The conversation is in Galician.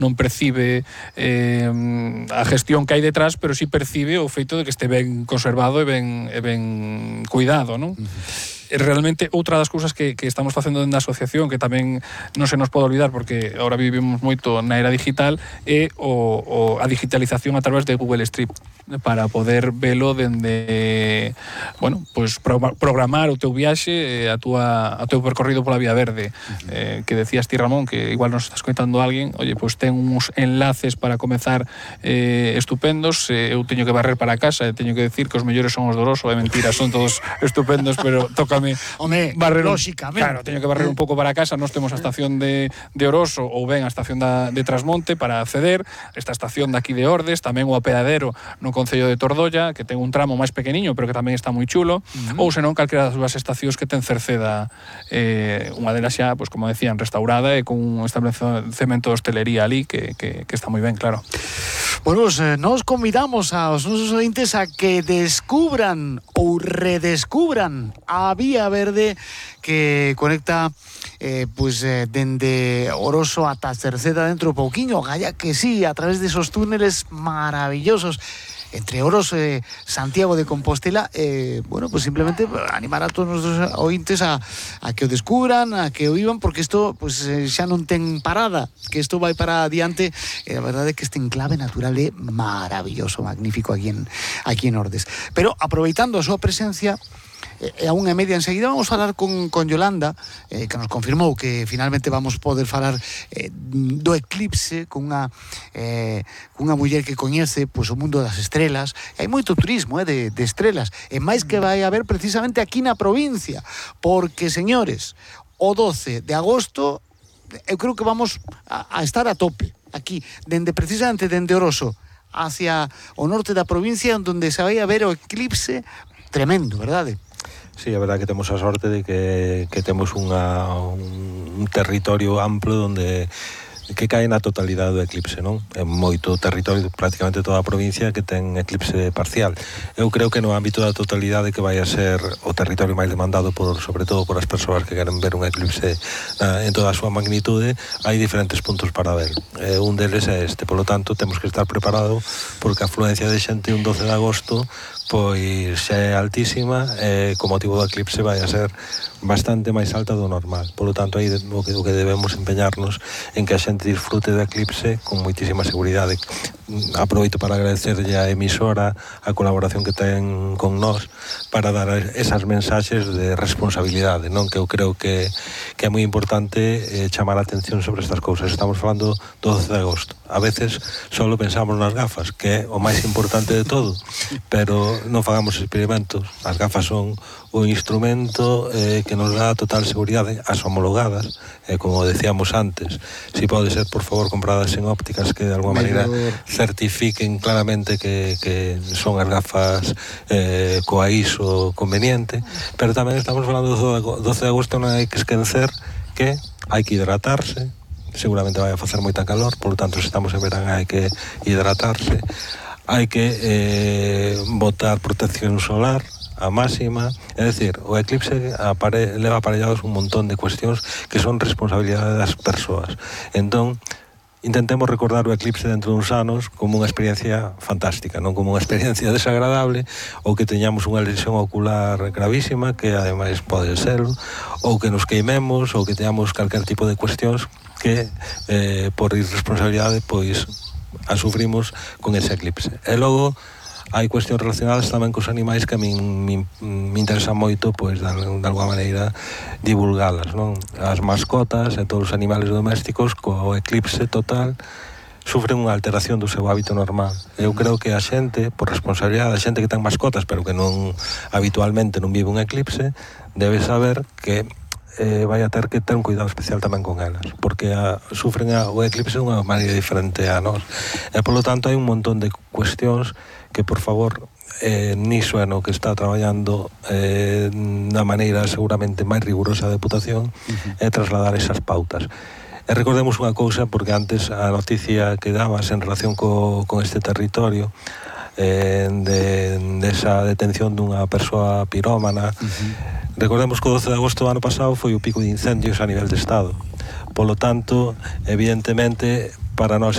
non percibe a gestión que hai detrás, pero sí percibe o feito de que este ben conservado e ben cuidado, non? Realmente outra das cousas que estamos facendo dentro da asociación, que tamén non se nos pode olvidar porque agora vivimos moito na era digital, é a digitalización a través de Google Street, para poder velo dende, bueno, pues programar o teu viaxe, o teu percorrido pola Vía Verde. Que decías ti, Ramón, que igual nos estás comentando a alguén, oye, pues ten uns enlaces para comezar estupendos, eu teño que barrer para casa, e teño que decir que os mellores son os do Oroso, é mentira, son todos estupendos, pero tócame barrer, lóxicamente. Claro, teño que barrer un pouco para casa. Nós temos a estación de Oroso ou ben a estación de Trasmonte para acceder, esta estación de aquí de Ordes, tamén o apeadero no concello de Tordolla, que ten un tramo máis pequeniño, pero que tamén está moi chulo, ou senón calquera das dúas estacións que ten Cerceda, unha delas xa, pues, como decían, restaurada e con un establecemento de hostelería ali que está moi ben, claro. Bueno, nos convidamos aos nosos ointes a que descubran ou redescubran a Vía Verde que conecta dende Oroso ata Cerceda dentro pouquiño, galla que sí, a través de esos túneles maravillosos entre Oroso e Santiago de Compostela. Bueno, pues simplemente animar a todos os ointes a que o descubran, a que o vivan, porque isto pues, xa non ten parada, que isto vai para adiante. A verdade é que este enclave natural é maravilloso, magnífico aquí en Ordes. Pero aproveitando a súa presencia, a 1:30 enseguida vamos falar con Yolanda, que nos confirmou que finalmente vamos poder falar do eclipse con unha muller que coñece o mundo das estrelas. Hai moito turismo de estrelas, e máis que vai haber precisamente aquí na provincia, porque, señores, o 12 de agosto eu creo que vamos a estar a tope aquí, precisamente dende Oroso hacia o norte da provincia, onde se vai a ver o eclipse tremendo, verdade? Sí, a verdade que temos a sorte de que temos un territorio amplo onde que cae na totalidade do eclipse, non? É moito territorio, prácticamente toda a provincia que ten eclipse parcial. Eu creo que no ámbito da totalidade que vai a ser o territorio máis demandado sobre todo por as persoas que queren ver un eclipse en toda a súa magnitude, hai diferentes puntos para ver. Un deles é este, polo tanto, temos que estar preparados porque a afluencia de xente un 12 de agosto pois xa é altísima e co motivo do eclipse vai a ser bastante máis alta do normal. Polo tanto, aí o que debemos empeñarnos en que a xente disfrute do eclipse con moitísima seguridade. Aproveito para agradecerlle a emisora a colaboración que ten con nós para dar esas mensaxes de responsabilidade, non? Que eu creo que é moi importante chamar a atención sobre estas cousas. Estamos falando do 12 de agosto. A veces só pensamos nas gafas, que é o máis importante de todo, pero non fagamos experimentos. As gafas son o instrumento que nos dá total seguridade, as homologadas, como decíamos antes, si pode ser, por favor, compradas en ópticas que de alguma maneira certifiquen claramente que son as gafas coa ISO conveniente, pero tamén estamos falando do 12 de agosto, non hai que esquecer que hai que hidratarse, seguramente vai a facer moita calor, por lo tanto, se estamos en verán hai que hidratarse, hai que botar protección solar a máxima, é dicir, o eclipse leva aparellados un montón de cuestións que son responsabilidade das persoas. Entón, intentemos recordar o eclipse dentro duns anos como unha experiencia fantástica, non como unha experiencia desagradable, ou que teñamos unha lesión ocular gravísima, que ademais pode ser, ou que nos queimemos, ou que teñamos calquer tipo de cuestións que por irresponsabilidade pois a sufrimos con ese eclipse. E logo hai cuestións relacionadas tamén cos animais que a min me interesa moito, pois, de alguma maneira, divulgalas, non? As mascotas e todos os animales domésticos, co eclipse total, sufren unha alteración do seu hábito normal. Eu creo que a xente, por responsabilidade, a xente que ten mascotas, pero que non habitualmente non vive un eclipse, debe saber que vai a ter que ter un cuidado especial tamén con elas, porque sufren o eclipse de unha maneira diferente a nós. E, polo tanto, hai un montón de cuestións que, por favor, niso é no que está traballando da maneira seguramente máis rigurosa a Deputación, é trasladar esas pautas. E recordemos unha cousa, porque antes a noticia que dabas en relación con este territorio, desa detención dunha persoa pirómana, recordemos que o 12 de agosto do ano pasado foi o pico de incendios a nivel de Estado. Polo tanto, evidentemente, para nós